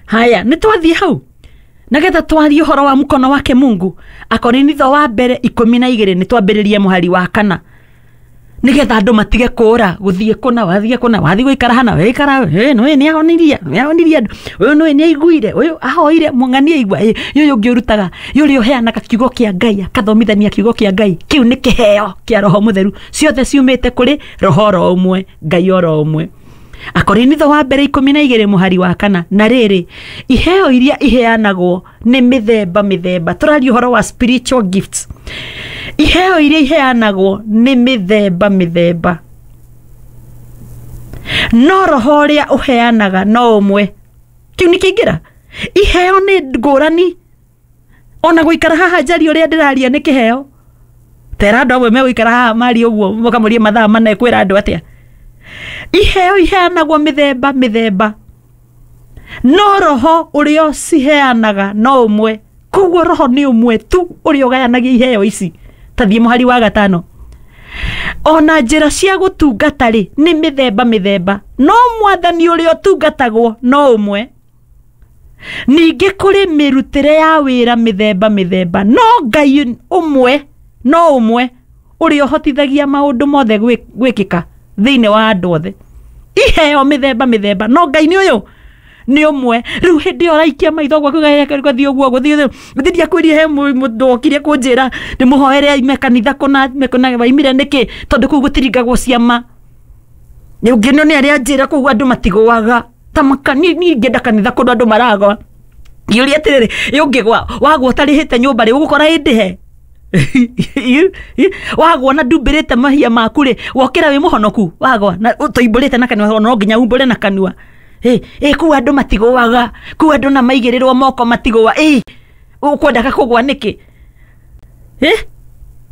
Haya, nĩ twathiĩ hau nagetha twarie ũhoro wa mkono wake Mungu. Akorinitho wa mbere 12 nĩ twambĩrĩrie mũhari wa 4 nigetha andũ matige kũra gũthiĩ kũna wathiĩ kũna wathiĩ gũikara hana wĩikara nĩ nĩ ahonirie nĩ ahonirie andũ ũyũ nĩ nĩ aiguire ũyũ ahoire mũng'ani aigua ũyũ ũngĩ ũrutaga ũrĩa ũheanaga kiugo kĩa Ngai akathomithania kiugo kĩa Ngai kĩu nĩ kĩheo kĩa Roho Mũtheru ciothe ciumĩte kũrĩ Roho oro ũmwe Ngai oro ũmwe. Akorinitho wa mbere 12 mũhari wa 4 na rĩrĩ iheo iria iheanagwo nĩ mĩthemba mĩthemba. Tũraria ũhoro wa spiritual gifts. Iheo iria iheanagwo nĩ mĩthemba mĩthemba, no roho ũrĩa ũheanaga no ũmwe. Kĩu nĩ kĩingĩra. Iheo nĩ ngũrani. Ona gũikara haha njarie ũrĩa ndĩraria nĩ kĩheo. Tera andũ amwe megũikara haha marie ũguo mũkamũrie mathaa mana kwĩra andũ atĩa. Iheo iheanagwo mĩthemba mĩthemba, no roho ũrĩa ũciheanaga no ũmwe. Koguo roho nĩ ũmwe tu ũrĩa ũgayanagia iheo ici. Tathiĩ mũhari wa 5. Ona njĩra cia gũtungata rĩ nĩ mĩthemba mĩthemba, no mwathani ũrĩa ũtungatagwo no ũmwe. Ningĩ kũrĩ mĩrutĩre ya wĩra mĩthemba mĩthemba, no Ngai ũmwe no ũmwe ũrĩa ũhotithagia maũndũ mothe gwĩkĩka thĩinĩ wa andũ othe. Iheo mĩthemba mĩthemba, no Ngai nĩ ũyũ nĩ ũmwe. Rĩu hĩndĩ ĩyo ũraikia maitho gwaku gũthiĩ ũguo gũthiĩ gũthiĩ ndiakwĩrire he mũndũ okire kũnjĩra ndĩmũhoere aime kanitha kũna kũna waimire nĩkĩ tondũ kũu gũtiringagwo ciama. Nĩ ũngĩ nĩ arĩa anjĩra kũu andũ matigũaga ta niĩ ingĩenda kanitha kũndũ andũ maragwa. Ngĩũria atĩrĩrĩ, ĩ ũngĩgwa wagwa ũtarĩhĩte nyũmba rĩ ũgũkora ĩndĩhe? Wagwa na ndumbĩrĩte mahia maku rĩ wokĩra wĩ mũhonoku wagwa na tũimbũrĩte na kanua no nginya umbũre na kanua. Ĩ kũu andũ matigũaga, kũu andũ na maigĩrĩrwo moko matigũa. Ĩ ũkwendaga kũgwa nĩkĩ? Ĩ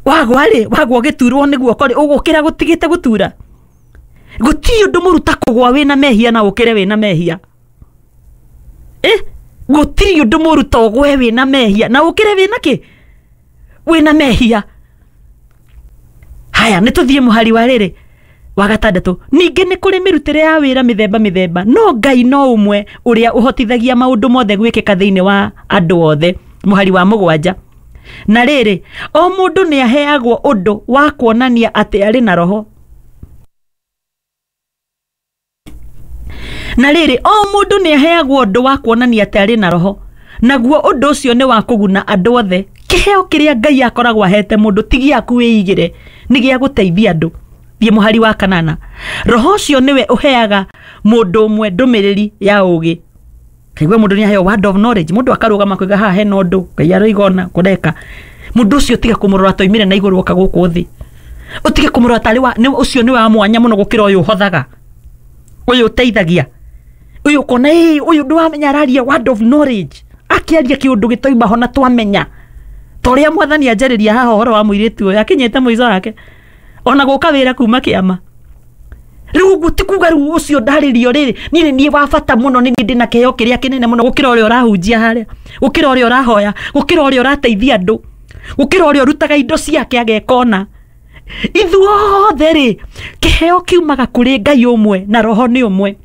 wagwa rĩ wagwa ũgĩturwo nĩ guoko rĩ ũgũkĩra gũtigĩte gũtura. Gũtirĩ ũndũ mũru ta kũgwa wĩna mehia na ũkĩre wĩna mehia. Ĩ gũtirĩ ũndũ mũru ta ũgwe wĩna mehia na ũkĩre wĩna kĩ? Wĩna mehia. Haya, nĩ tũthiĩ mũhari wa rĩrĩ wa 6. Ningĩ nĩ kũrĩ mĩrutĩre ya wĩra mĩthemba mĩthemba, no Ngai no ũmwe ũrĩa ũhotithagia maũndũ mothe gwĩkĩka thĩinĩ wa andũ othe. Mũhari wa 7. Na rĩrĩ o mũndũ nĩ aheagwo ũndũ wa kuonania atĩ arĩ na roho. Na rĩrĩ o mũndũ nĩ aheagwo ũndũ wa kuonania atĩ arĩ na roho, naguo ũndũ ũcio nĩ wa kũguna andũ othe. Kĩheo kĩrĩa Ngai akoragwo ahete mũndũ ti gĩaku wĩigĩre, nĩ gĩa gũteithia andũ. Thiĩ mũhari wa 8. Roho ũcio nĩwe ũheaga mũndũ ũmwe ndũmĩrĩri ya ũũgĩ. Kaigua mũndũ nĩ aheo word of knowledge, mũndũ akarũgama kuiga haha hena ũndũ Ngai aroiga ona kũreka. Mũndũ ũcio tiga kũmũrora toimire na igũrũ oka gũkũ thĩ. Ũtige kũmũrora tarĩ wa nĩ ũcio nĩ wa mwanya mũno gũkĩra ũyũ ũhothaga, ũyũ ũteithagia, ũyũ ũkona ĩ ũyũ ndwamenya araria word of knowledge, akĩaria kĩũndũ gĩtoima ho na twamenya. Ta ũrĩa mwathani anjarĩria haha ũhoro wa mũirĩtu ũyũ akinyĩte mũico wake ona gũka wĩra kuma kĩama. Rĩu ũguo ti kuga rĩu ũcio ndarĩrio rĩrĩ niĩ nĩ niĩ wa bata mũno, nĩ niĩ ndĩna kĩheo kĩrĩa kĩnene mũno gũkĩra ũrĩa ũrahunjia harĩa, gũkĩra ũrĩa ũrahoya, gũkĩra ũrĩa ũrateithia andũ, gũkĩra ũrĩa ũrutaga indo ciake ageka ona. Ithuothe rĩ kĩheo kiumaga kũrĩ Ngai ũmwe na roho nĩ ũmwe.